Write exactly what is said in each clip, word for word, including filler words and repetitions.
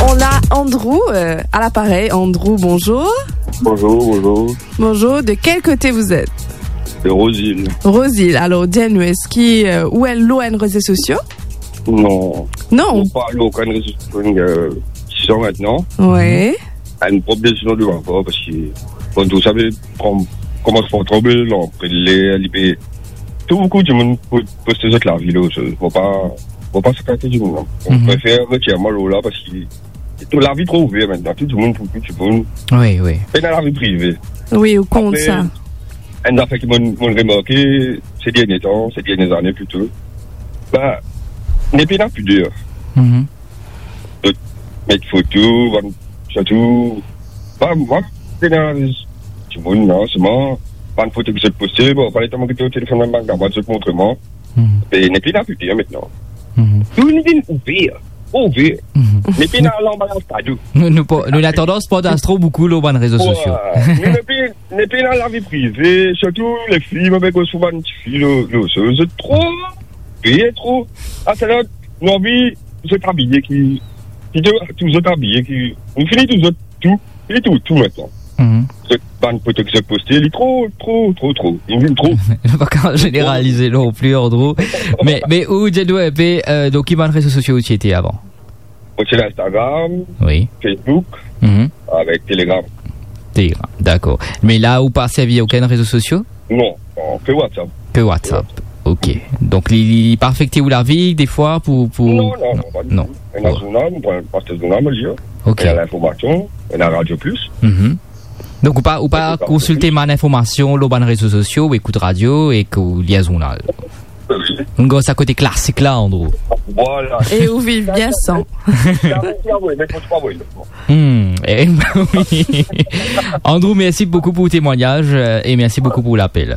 On a Andrew, euh, à l'appareil. Andrew, bonjour. Bonjour, bonjour. Bonjour, de quel côté vous êtes ? De Rose-Île. Rose-Île. Alors, dis-nous, est-ce que, euh, ou est lor enn réseau sociaux ? Non. Non. Mo pa lor okenn réseau sociaux, euh, six ans maintenant. Ouais. Enn problem sinon de ankor, parski, bon, tou sa pe kom-, komans pran tro lanprir, li pe, tou boukou dimoun pou poste zot lavi lor, so, mo pa, mo pa siport dimoun, non. Mo prefer retir mwa lor la, parski tou lavi tro ouver aster, tou dimoun pou tou dimoun. Wi, wi. Pena lavi prive. Wi, ou kont sa. Apre, enn zafer ki mo, mo remarke, se dernie tan, se dernie zane plito, be, nepli ena pider. Mhm. Zot met foto, bann, sirtou, pa, pa, pena dimoun, non, selman bann foto ki zot poste, bon, pa letan mo get lor telefonn bann, bann kamarad zot montre mwa. Mhm. E nepli ena pider aster. Mhm. Tou vinn ouver, ouver. Mhm. Nepli ena lanbalaz kado. Nou, nou pa, nou ena tandans partaz tro boukou lor bann rezo sosio. Wi, nepli, nepli ena lavi prive, sirtou lefi, mo pe koz pou bann tifi lor, lor, lor, zot tro peye tro. Aster la, nou anvi zot abiye ki, ki tou, tou zot abiye ki, nou fini tou zot tou, fini tou, tou aster. Mhm. Zot bann foto ki zot poste, li tro, tro, tro, tro. Li vinn tro. Nou pa kapav zeneralize non pli, Andrew. Me, me ou, Jedou, pe, euh, dan ki bann rezo sosio ou ti ete avan? Mo ti ena Instagram, wi, Facebook, mhm, avek Telegram. Telegram, dakor. Me la, ou pa servi okenn rezo sosio? Non, non, ke WhatsApp. Ke WhatsApp. Ok. Donk, li, li pa afekte ou lavi, defwa, pou, pou... Non, non, non, pa ditou. Non. Ena zournal, mo pran, mo aste zournal, mo lir. Ok. Ena Linformasion, ena Radio Plus. Mhm. Donk, ou pa, ou pa konsilte bann linformasion lor bann rezo sosio, ou ekout radio ek ou lir zournal? Wi. Ou gard sa kote klasik la, Andrew. Vwala. E ou viv bien san. Hmm, e, wi. Andrew, mersi boukou pou temwagnaz, euh, e mersi boukou pou lapel.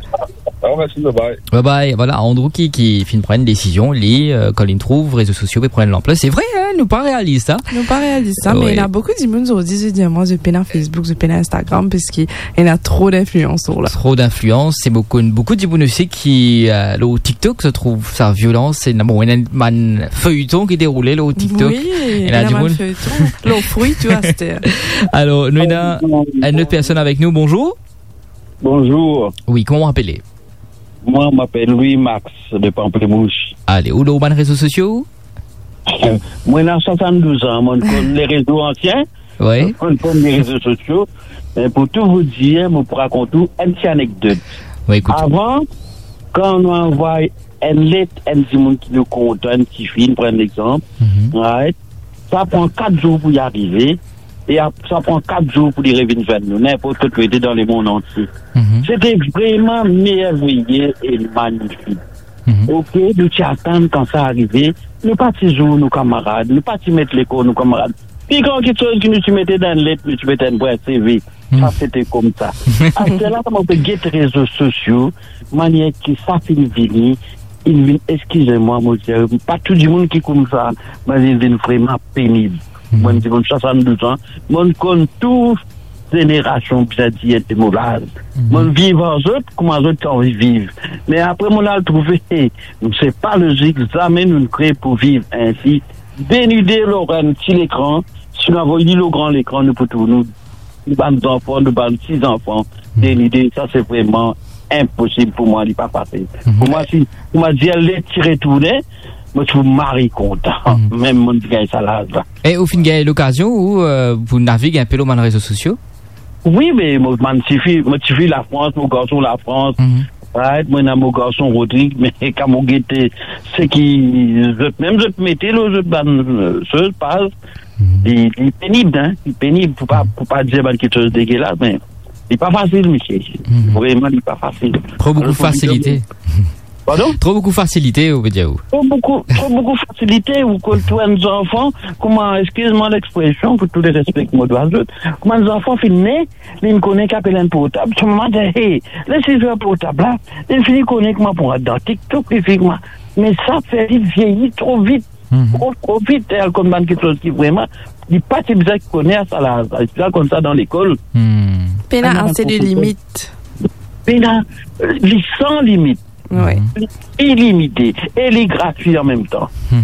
Ah, mersi, bye bye. Bye bye. Vwala, Andrew ki, ki finn pran enn desizion, li, euh, kan li trouv rezo sosio pe pran lanpler. Se vre, hein, nou pa realiz sa. Nou pa realiz sa, me ena boukou dimoun zordi, zot dir mwa, zot pena Facebook, zot pena Instagram, parski ena tro linflians lor la. Tro linflians, e boukou, boukou dimoun osi ki, euh, lor TikTok, zot trouv sa violan, se, bon, ena bann feyton ki deroule lor TikTok. Wi, ena dimoun, feyton lor fri tou aster. Alor, nou ena enn lot personn avek nou. Bonzour. Bonzour. Wi, kouma ou apele? Mwa, mo apel Louis Max de Pamplemousse. Ale, ou lor bann rezo sosio? Mwa, ena swasanndouz an, mo konn le rezo ansien, wi, mo konn le rezo sosio. Me pou tou vou dir, mo pou rakont ou enn ti anekdot. Wi, ekout. Avan, kan nou anvway enn let, enn dimoun ki nou kontan, enn tifi, pran enn lexanp, mhm, right? Sa pran kat zour pou li arive, e ap-, sa pran kat zour pou li revinn zwenn nou, ninport kot kote dan lemond antie. Mhm. Sete vreman merveye e magnifik. Mhm. Ok, nou ti atann kan sa arive, nou pa ti zour nou kamarad, nou pa ti met lekor nou kamarad. Pi gran kiksoz ki nou ti mete dan enn let, nou ti met enn brin CV. Hmm. Sa sete koumsa. Aster la, kan mo pe get rezo sosio, manier ki sa finn vini, inn vinn, eskiz mwa, mo dir, pa tou dimoun ki koumsa, me inn vinn vreman penib. Hmm. Mwa, mo dir, mo swasanndouz an, mo konn tou zenerasion, bizin dir, de mo laz. Hmm. Mo viv ar zot, kouma zot ti anvi viv. Me apre, mo al trouve, se pa lozik, zame nou kre pou viv ensi. Denide lor enn ti lekran, si nou avoy li lor gran lekran, nou pou trouv nou nou bann zanfan, nou bann ti zanfan, hmm, de lide, sa se vreman inposib pou mwa, li pa fasil. Mhm. Pou mwa, si, pou mwa dir, le ti retourne, mo ti pou mari kontan. Mhm. Mem mo ti gagn sa laz la. E ou finn gagn lokazion ou, euh, pou navig enpe lor bann rezo sosio? Wi, me mo, bann tifi, mo tifi Lafrans, mo garson Lafrans. Mhm. Right, mo ena mo garson Rodrig, me kan mo gete seki zot mem zot mete lor zot bann, euh, soz, paz, mhm, li, li penib, hein, li penib, pou pa, mhm, pou pa dir bann kiksoz degelas, me li pa fasil, misie. Mhm. Vreman, li pa fasil. Tro boukou fasilite. Pardon? Tro boukou fasilite, ou ve dir ou? Tro boukou, tro boukou fasilite, ou konn trouv enn zanfan, kouma, eskiz mwa lekspresion, pou tou le respe ki mo dwa zot, kouma enn zanfan finn ne, li finn kone ki apel enn portab, so mama dir, "Hey, les li zwe ar portab la." Li fini kone kouma pou rant dan TikTok, li fini kouma. Me sa fer li vieyi tro vit, mhm, tro, tro vit. E al konn bann kiksoz ki vreman, li pa ti bizin kone a sa laz la, li ti bizin konn sa dan lekol. Hmm. Pena ase de limit. Pena, li san limit. Wi. Li ilimite e li gratwi an mem tan. Hmm.